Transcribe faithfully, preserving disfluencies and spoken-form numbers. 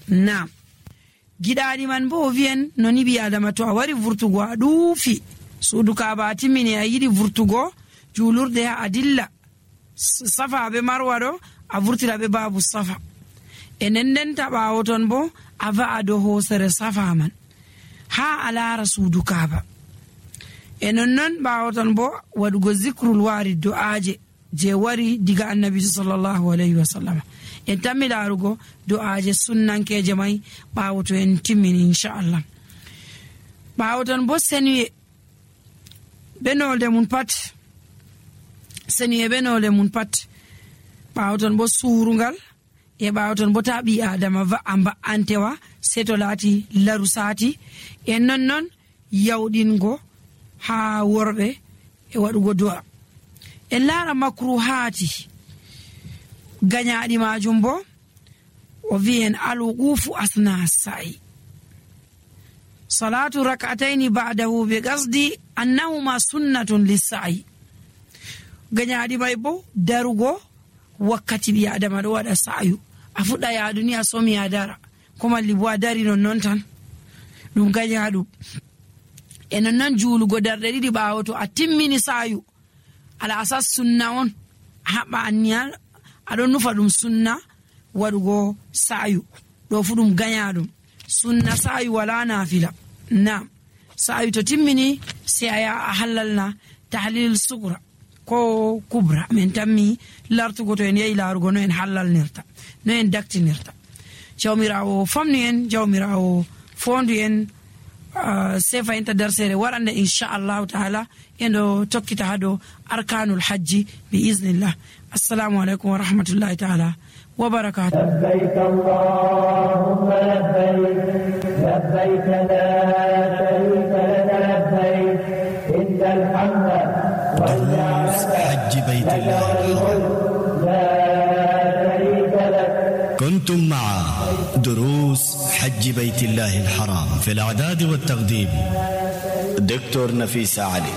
Naam. Giɗaɗi man bo o wi'en no ni ɓi adama to a wari vurtugo a ɗuufi suudu kaaba a timmini a yiɗi vurtugo juulurde ha a dilla safa be marwa ɗo a vurtira be babu safa e nendenta ɓaawo ton bo a va'a dow hoosere safa man ha a laara suudu kaaba e nonnon ɓaawo ton bo waɗugo zikrul waari do'aaje je wari diga annabi sallallahu alayhi wa sallam en tammi laarugo do'aaje sunnankeje may ɓaawo to en timmini inchallah. ɓaawo ton bo senuye benolde mun pat senuye benolde mun pat ɓaawo ton bo suurungal e ɓaawo ton bo ta ɓi adama va'a mba'antewa sei to laati laru saati en nonnon yawɗingo ha worɓe e waɗugo do'a en laara makruhaati gañaaɗi majum bo o wi'en alwuqufu asna sa'i salatu rak'ataini ba'dahu bi qasdi annahuma sunnatun lis-sa'i gañaaɗi may bo darugo wakkati ɓi adama ɗo waɗa sa'yu a fuɗɗa yaadu ni a somi a dara ko malli bo a dari nonnon tan ɗum gañaaɗum e nonnon juulugo darɗe ɗiɗi ɓaawo to a timmini sa'yu ala asas sunna on haɓɓa anniya aɗon nufa ɗum sunna waɗugo sa'yu ɗo fu ɗum gañaɗum sunna sa'yu wala nafila. Naam. sa'yu to timmini sai a yaha a hallalna tahlil sugra ko kubra min tammi lartugo to en yehi laarugo no en hallalnirta no en daktinirta. Jawmirawo famni en jawmirawo fondu en uh, sefa inta darsere warande inchallahu taala endo tokkita hado arkanul hajji bi iznillah. Assalamu alaikum wa rahmatullahi taala wa barakatuh. لبيك اللهم لبيك لبيك لا شريك لك لبيك إن الحمد دروس حج بيت الله الحرام. لا شريك لك. كنتم مع دروس حج بيت الله الحرام في الإعداد والتقديم دكتور نفيس علي.